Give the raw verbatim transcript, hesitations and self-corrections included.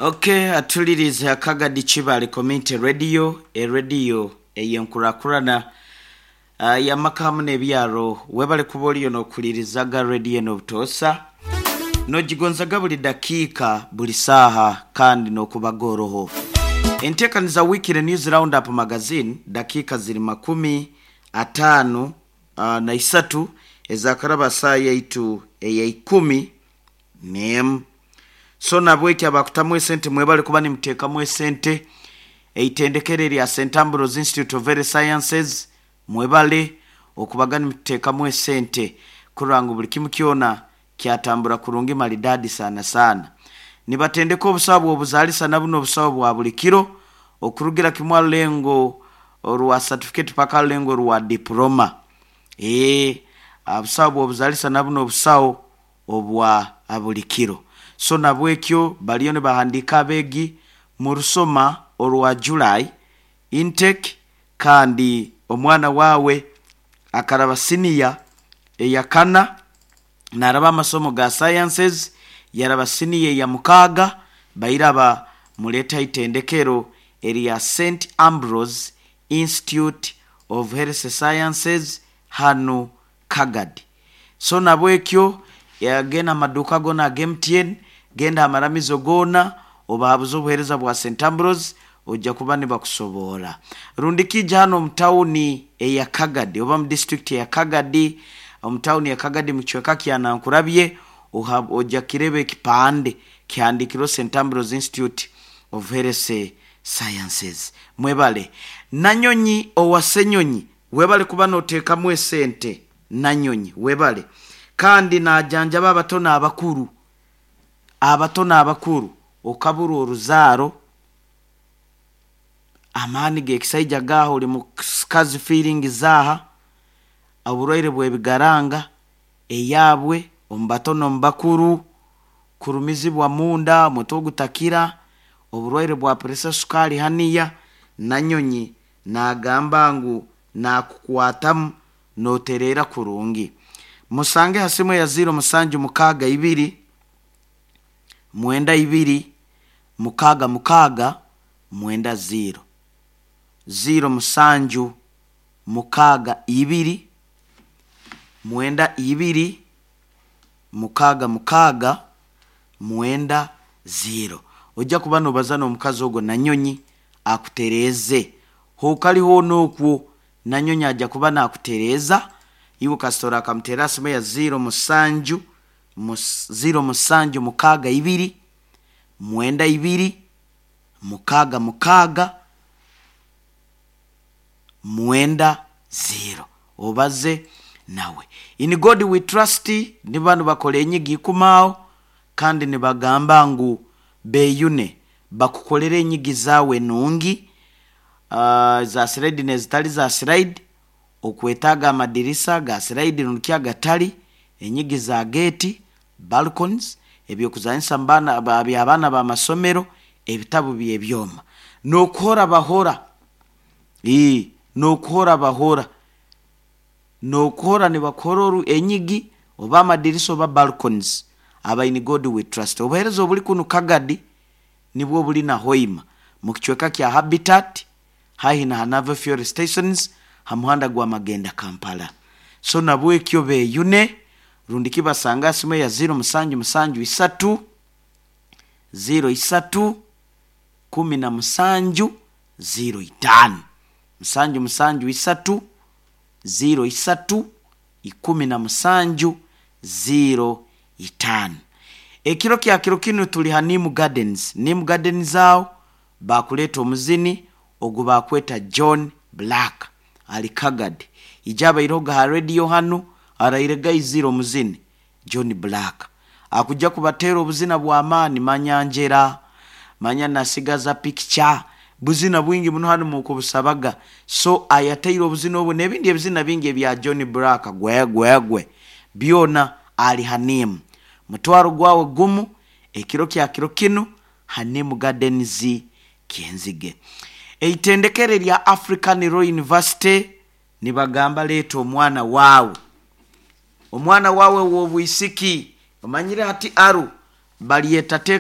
Okay, atulirize Akagadi Kibale Community Radio, erediyo eyenkurakurana uh, yamaka hamu n'ebyaro. Webale kuba oliyo n'okulirizaga rediyo eno obutoosa, nogigonzaga buli dakiika, buli saaha, kandi n'okubaga oroho enteekaniza. Weekly News Round Up Magazine, dakiika ziri makumi ataano uh, na isatu ezakaraba saa yaitu eyaikumi n'emu. So nabweki abakutamu esente, mwebale kuba nimuteekamu esente. Eitendekero erya Saint Ambrose Institute of Health Sciences, mwebale okubaga nimuteekamu esente kurora ngu buli kimu kyona kyatambura kurungi maridadi sana sana. Nibatendeka obusawo bw'obuzaalisa na buno obusawo bwa buli kiro, okurugira kimwe arulengo orwa certificate paka arulengo rwa diploma. Ee, obusawo bw'obuzaalisa na buno obusawo obwa buli kiro. So nabwekyo baliyo nibahandiika abeegi mu rusoma orwa July intake, kandi omwana waawe akaraba siniya eyakana naraba amasomo ga sciences, yaraba siniya eya mukaaga, bairaba muleeta itendekero erya Saint Ambrose Institute of Health Sciences hanu Kagadi. So nabwekyo genda amaduuka gona aga M T N, genda amaramizo goona, obahabuze obuheereza bwa Saint Ambrose, ojja kuba nibakusoboora. Rundi kija hano omu tawuni eya Kagadi oba mu district eya Kagadi, omu tawuni ya Kagadi mu kicweka kya Nankurabye, ojja kireba ekipande kihandikirwe Saint Ambrose Institute of Health Sciences. Mwebale. Nanyonyi owa Senyonyi, webale kuba noteekamu esente. Nanyonyi, webale. Kandi najanjaba abato n'abakuru, abato n'abakuru, okabura oruzaaro, amaani g'ekisaija gaaha, oli mukazi feeling zaaha, oburwaire bw'ebigaranga eyabwe omu bato n'omu bakuru, kurumizibwa munda, omutwe ogutakira, oburwaire bwa pressure, sukaali haniya, Nanyonyi nagamba ngu nakukwatamu notereera kurungi. Musange ha simu ya ziro musanju mukaaga ibiri mwenda ibiri mukaaga mukaaga mwenda ziro, ziro musanju mukaaga ibiri mwenda ibiri mukaaga mukaaga mwenda ziro. Ojja kuba nobaza n'omukazi ogwo Nanyonyi akutereeze. Hokali hoona okwo, Nanyonyi ajja kuba nakutereeza iwe kasita akamuteera simu ya ziro musanju mus, ziro musanju mukaaga ibiri mwenda ibiri mukaaga mukaaga mwenda ziro, obaze nawe. In God We Trust ni banu bakora enyigi ikumaawo, kandi nibagamba ngu beyune bakukolera enyigi zaawe nungi, uh, za slide nezitali za slide, okwetaaga amadirisa ga slide rundi agatali, enyigi za gate, balconies, ebyokuzanyisa mbana by'abaana b'amasomero, ebitabu by'ebyoma, n'okuhora bahora, ii n'okuhora bahora, n'okuhora nibakuhora oru enyigi oba amadirisa oba balconies. Aba In God We Trust, obuheereza obuli kunu Kagadi nibwo buli na Hoima mu kicweka kya Habitat, haihi na Hanave fuel stations, ha muhanda gwa Magenda Kampala. So nabwekyo beyune, rundi kibasanga simu ya ziro musanju musanju isatu ziro isatu kumi na musanju ziro itaano, musanju musanju isatu ziro isatu ikumi na musanju ziro itaano. Ekiro kya kiro kinu tuli ha Nim Gardens. Nim Gardens awo bakuleeta omuzini ogu bakweta John Black, ali Kagadi. Ija abairoga ha radio hanu araire gaizire omuzini John Black akujja kubateera obuzina bw'amaani, manyanjera, manya nasigaza picture, buzina bwingi muno hanu mukubusabaga. So ayateire obuzina obwo n'ebindi ebizina bingi ebya John Black gwe gwe gwe byona ali hanimu. Mutwaro gwawe gumu ekiro kya kiro kinu Hanimu Gardens, Kyenzige. Eitendekero erya African Royal University nibagamba leeta omwana waawe, omwana waawe w'obwisiki. Omanyire hati aru balyeta teeka.